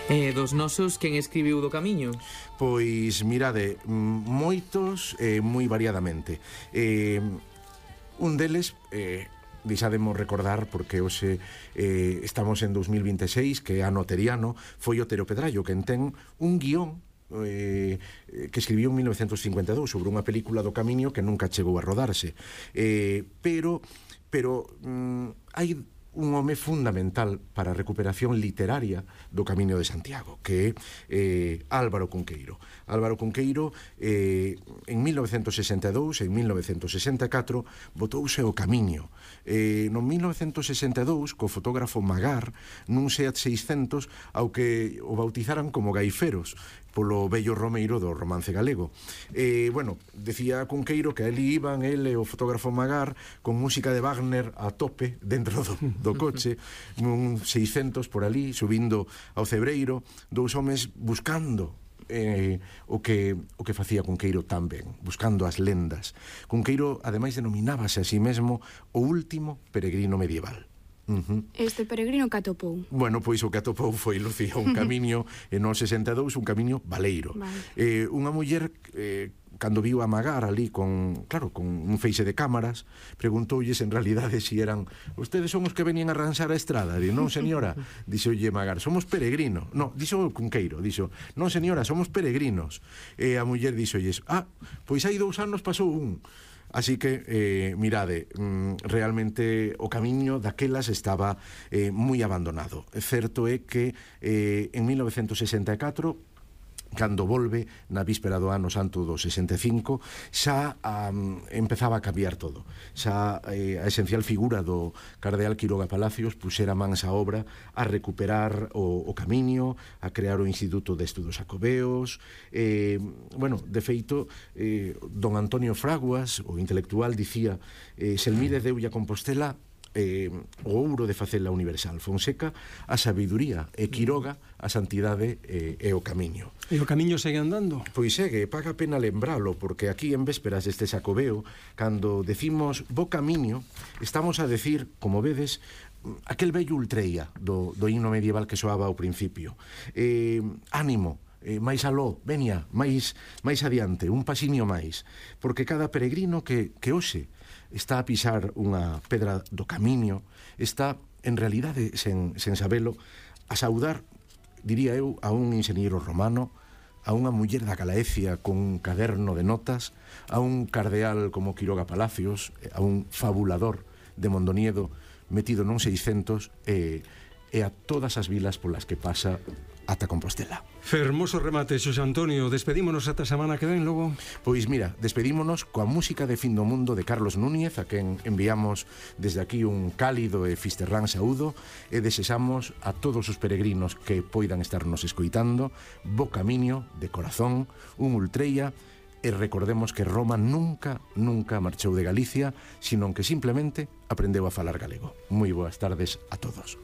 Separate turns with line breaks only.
Dos nosos, quen escribiu do Camiño?
Pois, mirade, moitos moi variadamente. Un deles, deixademos recordar, porque hoxe estamos en 2026, que é ano teriano, foi Otero Pedrallo, quen ten un guión que escribiu en 1952 sobre unha película do Camiño que nunca chegou a rodarse, pero hai un home fundamental para a recuperación literaria do Camiño de Santiago, que é Álvaro Cunqueiro. Álvaro Cunqueiro, en 1962 e en 1964, botouse o Camiño. No 1962, co fotógrafo Magar, nun Seat 600, ao que o bautizaran como Gaiferos, polo bello romeiro do romance galego. Bueno, decía Cunqueiro que ali iban ele e o fotógrafo Magar con música de Wagner a tope dentro do coche, un 600 por ali, subindo ao Cebreiro, dous homes buscando o que facía Cunqueiro tan ben, buscando as lendas. Cunqueiro, ademais, denominábase a sí mesmo o último peregrino medieval.
Este peregrino que atopou?
Bueno, pois o que atopou foi, Lucía, un camiño no 62, un camiño baleiro. Unha muller, cando viu a Magar ali con un feixe de cámaras, preguntoulles en realidade si eran ustedes son os que venían a arranxar a estrada. Di, non señora, dixolle Magar, somos peregrinos. No, dixo Cunqueiro, dixo, non señora, somos peregrinos. E a muller dixolles, pois hai 2 anos pasou un. Así que, mirade, realmente o Camiño daquelas estaba moi abandonado. Certo é que en 1964, cando volve na víspera do ano santo do 65, xa empezaba a cambiar todo. Xa a esencial figura do cardeal Quiroga Palacios puxera mans á obra a recuperar o Camiño, a crear o Instituto de Estudos Xacobeos. Bueno, de feito, don Antonio Fraguas, o intelectual, dicía Selmide deulle a Compostela o ouro de facela universal, Fonseca a sabiduría e Quiroga a santidade e o Camiño.
E o Camiño segue andando?
Pois segue, paga pena lembralo, porque aquí en vésperas deste Xacobeo, cando decimos bo Camiño, estamos a decir, como vedes, aquel bello ultreia do himno medieval que soaba ao principio. Ánimo, máis aló, veña, máis adiante, un pasiño máis, porque cada peregrino que hoxe está a pisar unha pedra do Camiño, está, en realidade, sen sabelo, a saudar, diría eu, a un enxeñeiro romano, a unha muller da Galaecia con un caderno de notas, a un cardeal como Quiroga Palacios, a un fabulador de Mondoniedo metido nun 600 e a todas as vilas polas que pasa ata Compostela.
Fermoso remate, Xosé Antonio. Despedímonos ata semana que ven, logo?
Pois mira, despedímonos coa música de Fin do Mundo de Carlos Núñez, a quen enviamos desde aquí un cálido e fisterrán saúdo, e desexamos a todos os peregrinos que poidan estarnos escoitando bo Camiño, de corazón, un ultreia, e recordemos que Roma nunca marchou de Galicia, sino que simplemente aprendeu a falar galego. Moi boas tardes a todos.